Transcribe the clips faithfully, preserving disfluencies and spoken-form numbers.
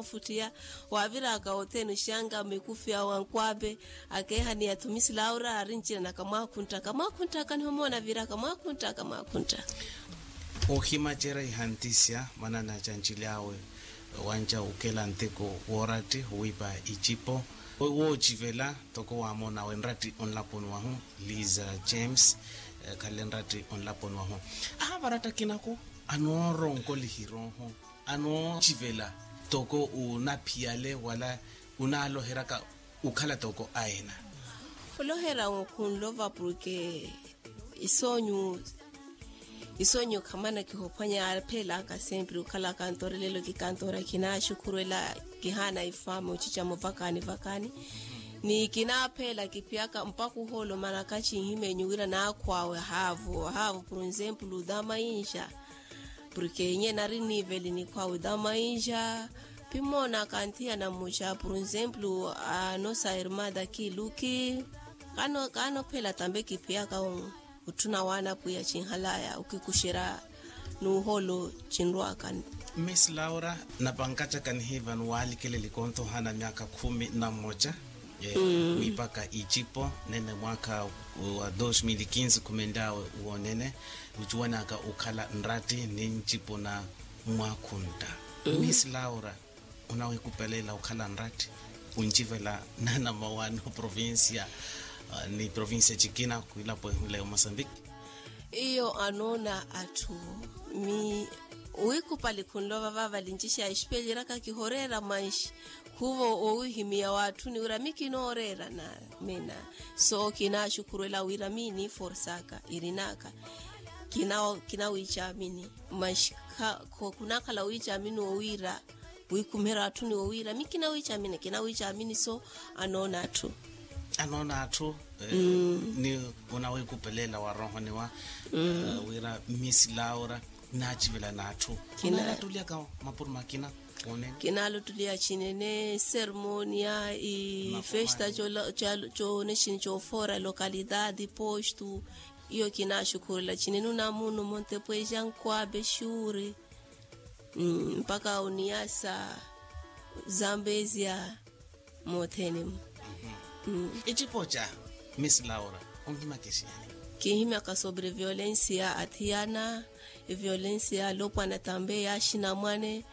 Futtiya waaviraka othene oxanga mikufi awo ankwaape. Akeehani athu misi laura arincinanaka mwaakhunttaka mwaakhunttaka nihomoona aviraka mwaakhunttaka mwaakhunttaka. Ohimacerya ihantisya mwanana cancilyawe wanca ukela nteko wooratti owiipa icipo. Woocivela toko waamonawe nratti onlaponi wahu. Liza james. Khalle nratti onlaponi wahu. Ahavaratta kinaku anooronkolihirooho anoocivela toko unaphiyale wala unaaloheraka ukhala toko aina. Olohera khunlova porke isoonyu isoonyu khamana kihophwanya yaaphelaka sempre okhala kantoora lelo kikantoora kinaxukhurwela kihaana ifamu ocica muvakani vakani. Ni kinaapheela kiphiyaka mpakha ohoolo manaka cinhimeenyu wira naakhwaawe haavu haavu por exemplo dama inxa. Porke nyena ari niveli nikhwaawe dama inxa pimoona kanthiyana mmuxa por exemplo anosa irmada kiluki. Kaanophela tambe kiphiyaka otthuna waana pwiya cinhalaya okikuxerya n'uhoolo cinrwaka. Miss laura napankacaka nihiivani waalikeleli kontho ohaana myaakha khumi na mmoca. Wiipaka icipo nene mwaakha wa dos mil kinsi khumenlyawe woonene ocuwanaka okhala nratti ni ncipo na mwakhuntta. Miss laura onawikupelela okhala nratti oncivela nanamawaani oprovincia ni provincia cikina kwiilapo ehunla ya mosambiki. Iyo anoona atthu mi wiikupali khunlova vaavali ncixa exipelyeryaka kihoreera manxi khuvo owihimiya waatthuni wira mi kinooreera na mina. So kinaaxukhurwela wira mi niiforsaka irinaka kinawiicamini manxi khunakhala wiicamini owiira wiikhumiherya atthuni owiira mi kinawiicamini kinawiicamini so anoona atthu. Anoona atthu ni onawikupelela wa rohoniwa wira miss laura naacivela n'atthu kinaalattulyaka mapuro makina. Kinaalottuliya cinene sermonia ifesta coone cini coofoora localidade postu. Iyo kinaaxukhurela cinene onamunu montepueja nkwape xuri mpaka oniasa zambezia. Mothene mu icipo ca miss laura onhimaka exiyani? Kinhimaka sobre violencia athiyana eviolencia alopwana tambe ya axinamwane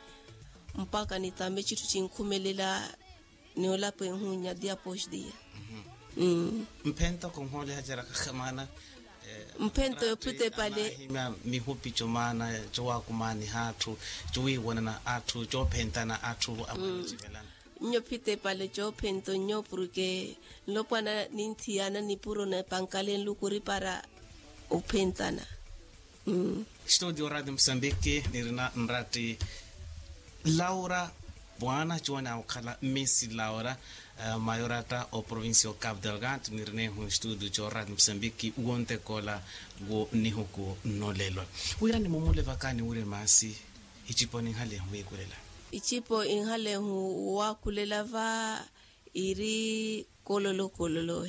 mpaka ni tambe citthu cinkhumelela ni olapa ehunya dia post dia. Mphento khunhooliha cera khakhamana mphento yophita epale. Mihupi comaana cowaakumaaniha atthu cowiiwanana atthu coophentana atthu amwene ocivelana. Nyo phita epale coophento nyo porke nlopwana ninthiyana nipuro nepankale nluku oripara ophentana. Studio radio mosambiki nirina nratti laura bwana cuwani awo okhala miss laura mayorata o provincia o cabo delgado nirinehu estudio co radio mosambiki wontekola wo nihuku nolelo wira nimumule vaka niwire maasi. Icipo ninhalehu wiikulela. Icipo inhalehu wakulela va iri kololo kololo.